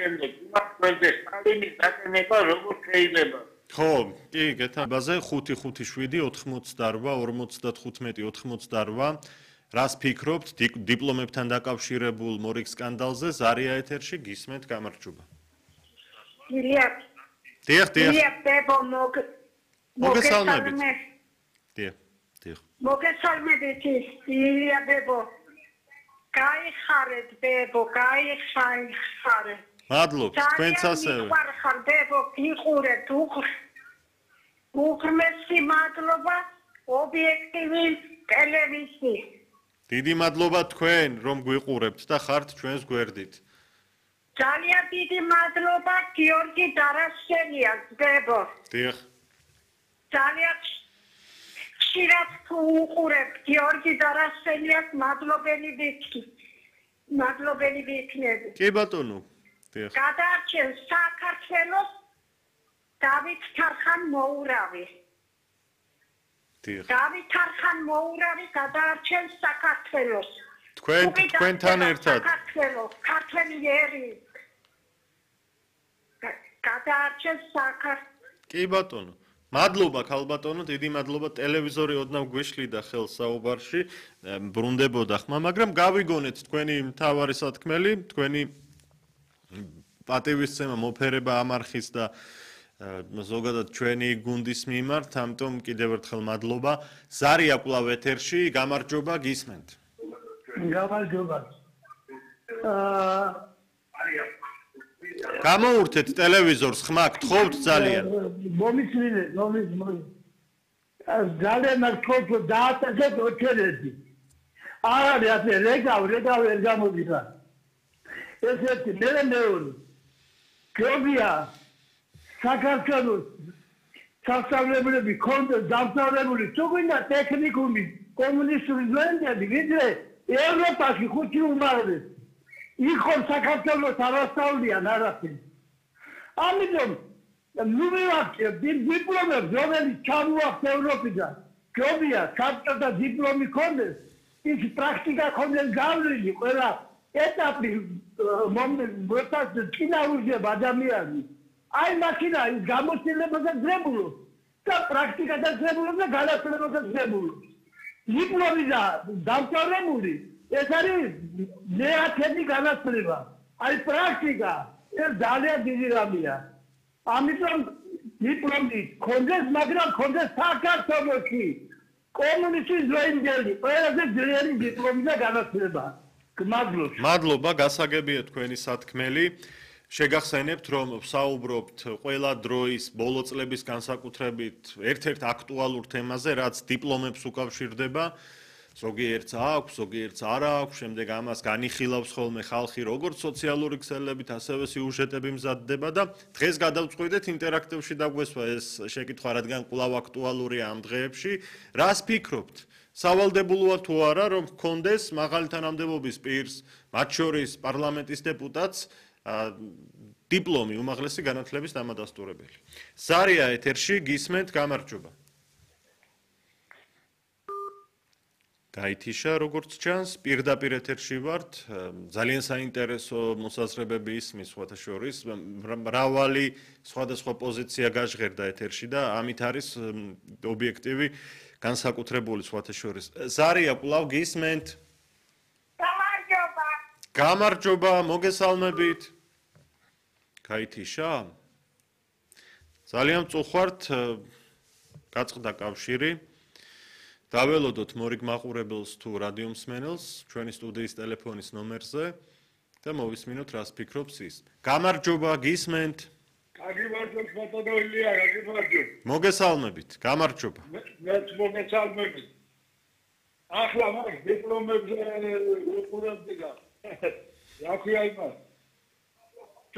შემდეგ იმას გვერდეს სტალინის დაკენება როგორ შეიძლება. ხო, კი, გეთანხმებაზე 5-5-7 88 95 რას ფიქრობთ დიპლომებთან დაკავშირებულ მორიგ სკანდალზე? ზარია ეთერში გისმენთ, გამარჯობა. დიახ. მოგესალმებით. დიახ. მოგესალმებით, ილია ბებო. გაიხარეთ ბებო, გაიხარეთ. მადლობთ, თქვენც ასევე. ხარ ბებო, გიყურეთ, უღრმესი მადლობა ობიექტივი ტელევიზიის. დიდი მადლობა თქვენ, რომ გვიყურებთ და ხართ ჩვენს გვერდით. ძალიან დიდი მადლობა გიორგი დარაშენიას ბებო. დიახ. ძალიან ხშირად უყურებთ გიორგი დარაშენიას მადლობელი ვიქნები. კი ბატონო. დიახ. გადაარჩენს საქართველოს დავით თარხან-მოურავი. დიახ. დავით თარხან-მოურავი გადაარჩენს საქართველოს. თქვენთან ერთად. ქართველი ერი. გადაარჩენს საქართველოს. კი ბატონო. მადლობა ქალბატონო, დიდი მადლობა ტელევიზორი ოდნავ გვეშლიდა ხელს საუბარში, ბრუნდებოდა ხმა, მაგრამ გავიგონეთ თქვენი მთავარი სათქმელი, თქვენი პატივისცემა მოფერება ამ არხის და ზოგადად ჩვენი გუნდის მიმართ, ამიტომ კიდევ ერთხელ მადლობა. ზარია კვლავ ეთერში, გამარჯობა, გისმენთ. გამარჯობა. გამოურთეთ ტელევიზორს, ხმა გთხოვთ ძალიან. მომიცილეთ. ძალიან მართლაც დაატაკეთ ოჩერეთი. არ არის ასე რეგავ ვერ გამოდიხა. ესეთი მეორე. გრობია საქართველოს სასწავლებლები კონდეს დამთავრებული თუ გვინდა ტექნიკუმი კომუნისტური ძვენდები ვიდრე ევროპაში ხუთი უმაღლესი იქ საქართველოს არასწავლიან არაფერი ამიტომ ნუ მივაქცევ დიპლომებს რომელიც ჩამოაქვს ევროპიდან გრობია საბჭოთა დიპლომი კონდეს ის პრაქტიკა კონდეს გავლილი ყველა ეტაპი მომენტ წინააღმდეგ ადამიანი აი მაშინა ის გამოცდილებაზე ძებულობს და პრაქტიკაზე ძებულობს და განათლებაზე ძებულობს. დიპლომი და დამთავრებული ეს არის მეათედი განათლება. აი პრაქტიკა ეს ძალიან დიდი რამეა. ამიტომ დიპლომი კონდეს, მაგრამ კონდეს საქართველოში კომუნისტის დროინდელი ყველაზე ძლიერი დიპლომი და განათლება. გმადლობთ. მადლობა, გასაგებია თქვენი სათქმელი. შეგახსენებთ, რომ ვსაუბრობთ ყველა დროის ბოლო წლების განსაკუთრებით ერთ-ერთ აქტუალურ თემაზე, რაც დიპლომებს უკავშირდება. ზოგიერთს აქვს, ზოგიერთს არ აქვს, შემდეგ ამას განიხილავს ხოლმე ხალხი როგორც სოციალური ქსელებით, ასევე სიუჟეტები მზადდება და დღეს გადავწყვიტეთ ინტერაქტივში დაგვესვა ეს შეკითხვა, რადგან კვლავ აქტუალურია ამ დღეებში. რას ფიქრობთ? სავალდებულოა თუ არა, რომ გქონდეს მაღალი თანამდებობის პირს, მათ შორის პარლამენტის დეპუტატს დიპლომი უმაღლესი განათლების დამადასტურებელი. ზარია ეთერში გისმენთ, გამარჯობა. გაითიშა როგორც ჩანს, პირდაპირ ეთერში ვართ, ძალიან საინტერესო მოსაზრებები ისმის სხვათა შორის, მრავალი სხვადასხვა პოზიცია გაჟღერდა ეთერში და ამით არის ობიექტივი განსაკუთრებული სხვათა შორის. ზარია კვლავ გისმენთ. გამარჯობა, მოგესალმებით. გაითიშა? ძალიან წუხვართ, გაწყდა კავშირი. დაველოდოთ მორიგ მაყურებელს თუ რადიო მსმენელს ჩვენი სტუდიის ტელეფონის ნომერზე და მოვისმინოთ რას ფიქრობს ის. გამარჯობა, გისმენთ. კარგი მართლაც ბატონო ილია, კარგი მართლაც. მოგესალმებით, გამარჯობა. მეც მოგესალმებით. ახლა მაგ დიპლომებზე უყურებდი და რა ქვია იმას.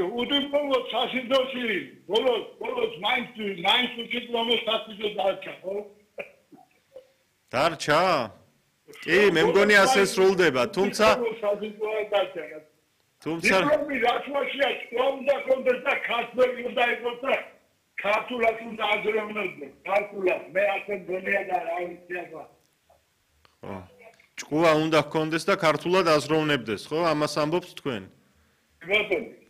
უდიპლომო სასიდოში ბოლოს მაინც უდიპლომო სასიდო დარჩა, ხო? დარჩა? კი, მე მგონი ასე სრულდება, თუმცა დიპლომი რაშუაშია უნდა კონდეს და ქართველი უნდა იყოს და ქართულად უნდა აზროვნოდეს, ქართულად, მე ასე მგონია და რა ვიცი აბა. ხო. ჭკუა უნდა გქონდეს და ქართულად აზროვნებდეს, ხო? ამას ამბობთ თქვენ? ბატონო